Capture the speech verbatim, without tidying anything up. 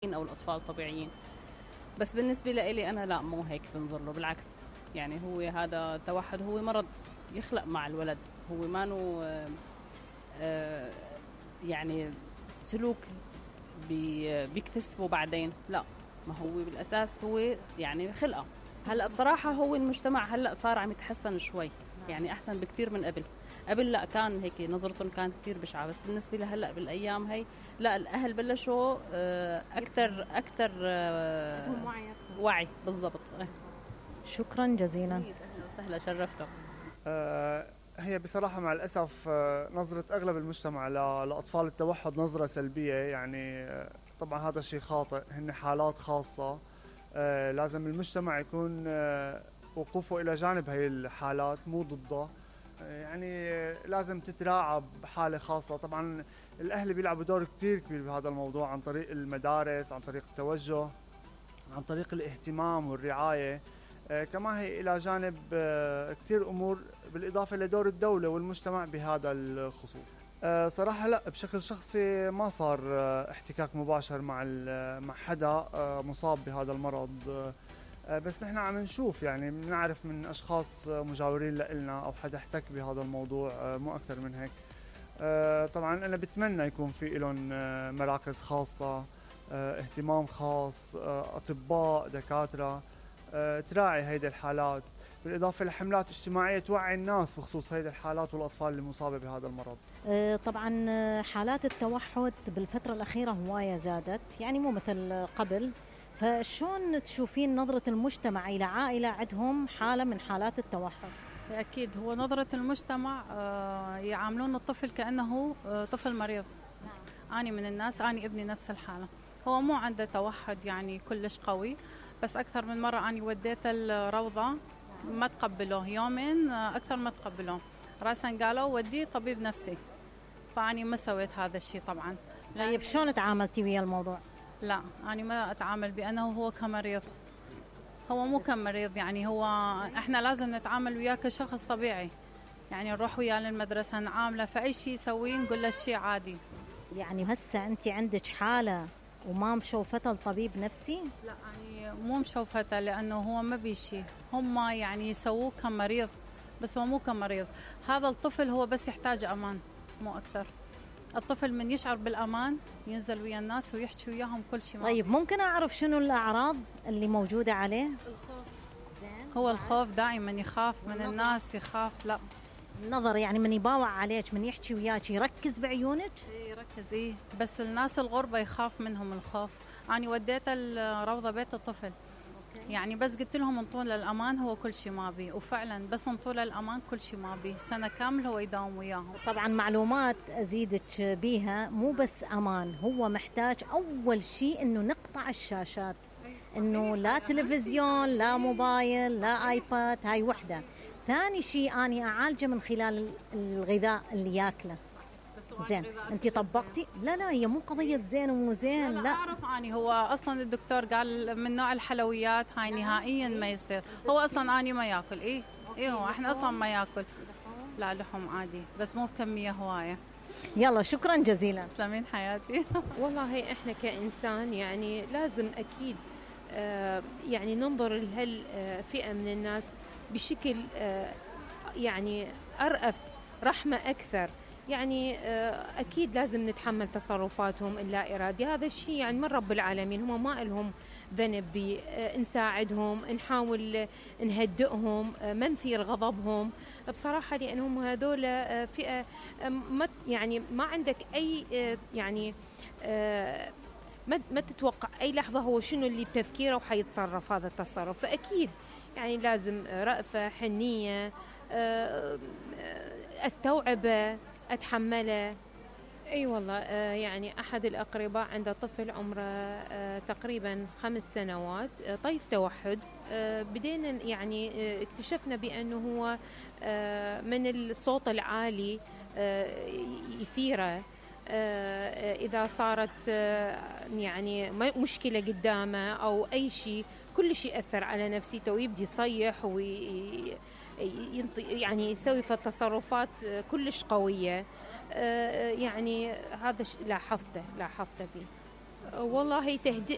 أو الأطفال طبيعيين. بس بالنسبة لإلي أنا لا، مو هيك بنظر له، بالعكس. يعني هو هذا التوحد هو مرض يخلق مع الولد، هو ما نو آه يعني سلوك بي بيكتسبه بعدين، لا، ما هو بالأساس هو يعني خلقه. هلأ بصراحة هو المجتمع هلأ صار عم يتحسن شوي، يعني أحسن بكتير من قبل. قبل لا كان هيك نظرتهم كانت كتير بشعة، بس بالنسبة لهلأ بالأيام هاي لا، الأهل بلشوا أكتر أكتر وعي وعي بالضبط. شكرا جزيلا. أهلا وسهلا، شرفتوا. أه هي بصراحة مع الأسف أه نظرة أغلب المجتمع لأطفال التوحد نظرة سلبية. يعني أه طبعا هذا الشيء خاطئ، هن حالات خاصة. أه لازم المجتمع يكون أه وقوفه إلى جانب هاي الحالات مو ضده. أه يعني لازم تتراعى بحالة خاصة. طبعا الأهل بيلعبوا دور كتير كبير بهذا الموضوع، عن طريق المدارس، عن طريق التوجه، عن طريق الاهتمام والرعاية. آه كما هي إلى جانب آه كتير أمور، بالإضافة لدور الدولة والمجتمع بهذا الخصوص. آه صراحة لا، بشكل شخصي ما صار آه احتكاك مباشر مع مع حدا آه مصاب بهذا المرض. آه بس نحن عم نشوف، يعني بنعرف من أشخاص مجاورين لنا أو حدا احتك بهذا الموضوع، آه مو أكثر من هيك. آه طبعا أنا بتمنى يكون في لهم آه مراكز خاصة، آه اهتمام خاص، آه أطباء، دكاترة آه تراعي هيدي الحالات، بالإضافة لحملات اجتماعية توعي الناس بخصوص هيدي الحالات والأطفال المصابة بهذا المرض. آه طبعا حالات التوحد بالفترة الأخيرة هواية زادت، يعني مو مثل قبل. فشون تشوفين نظرة المجتمع إلى عائلة عندهم حالة من حالات التوحد؟ أكيد هو نظرة المجتمع آه يعاملون الطفل كأنه آه طفل مريض. نعم. أنا من الناس، أنا ابني نفس الحالة، هو مو عنده توحد يعني كلش قوي، بس أكثر من مرة أنا وديت الروضة ما تقبلوه، يومين أكثر ما تقبلوه، راسا قالوا وديه طبيب نفسي، فأني ما سويت هذا الشيء طبعا. طيب شلون تعاملتي ويا الموضوع؟ لا، أنا ما أتعامل بأنه هو كمريض، هو مو كمريض، يعني هو إحنا لازم نتعامل وياه كشخص طبيعي، يعني نروح وياه للمدرسة نعامله، فأي شيء يسويه نقول له الشيء عادي. يعني هسه أنت عندك حالة وما مشوفته لطبيب نفسي؟ لا، يعني مو مشوفته، لأنه هو ما بيشي، هم يعني يسووه كمريض، بس هو مو كمريض. هذا الطفل هو بس يحتاج أمان، مو أكثر. الطفل من يشعر بالأمان ينزل ويا الناس ويحكي وياهم كل شيء. طيب ممكن أعرف شنو الأعراض اللي موجودة عليه؟ الخوف. زين. هو الخوف دائما يخاف من الناس، يخاف. لا، النظر، يعني من يباوع عليك، من يحكي وياك يركز بعيونك؟ ايه يركز، ايه، بس الناس الغربة يخاف منهم الخوف. أنا وديت الروضة بيت الطفل. أوكي. يعني بس قلت لهم انطوا له الأمان، هو كل شيء ما بي، وفعلا بس انطوا له الأمان كل شيء ما بي، سنة كامل هو يداوم وياهم. طبعا معلومات أزيدك بيها، مو بس أمان، هو محتاج أول شيء إنه نقطع الشاشات، إنه لا تلفزيون لا موبايل لا آيباد، هاي وحدة. ثاني شيء أني أعالجه من خلال الغذاء اللي ياكله. زين، أنت طبقتي؟ لا لا، هي مو قضية زين ومو زين. لا, لا, لا أعرف أني هو أصلا الدكتور قال من نوع الحلويات هاي نهائيا ما يصير، هو أصلا أني ما يأكل. إيه إيه هو إحنا أصلا ما يأكل، لا لحم عادي بس مو بكمية هواية. يلا شكرا جزيلا. تسلمين حياتي. والله إحنا كإنسان يعني لازم أكيد آه يعني ننظر لهالفئة من الناس بشكل آه يعني أرأف، رحمة أكثر. يعني أكيد لازم نتحمل تصرفاتهم اللا إرادية، هذا الشيء يعني من رب العالمين، هم ما لهم ذنب بي. نساعدهم، نحاول نهدئهم، ما نثير غضبهم بصراحة، لأنهم هذول فئة ما يعني ما عندك أي يعني ما ما تتوقع أي لحظة هو شنو اللي بتفكيره وحيتصرف هذا التصرف. فأكيد يعني لازم رأفة، حنية، أستوعبه، أتحمله. أي والله آه يعني أحد الأقرباء عنده طفل عمره آه تقريبا خمس سنوات آه طيف توحد. آه بدينا يعني آه اكتشفنا بأنه هو آه من الصوت العالي آه يثيره، آه إذا صارت آه يعني مشكلة قدامه أو أي شيء، كل شيء أثر على نفسيته ويبدي يصيح وي يعني يسوي في التصرفات كلش قوية. يعني هذا لاحظته لاحظته فيه. والله تهدي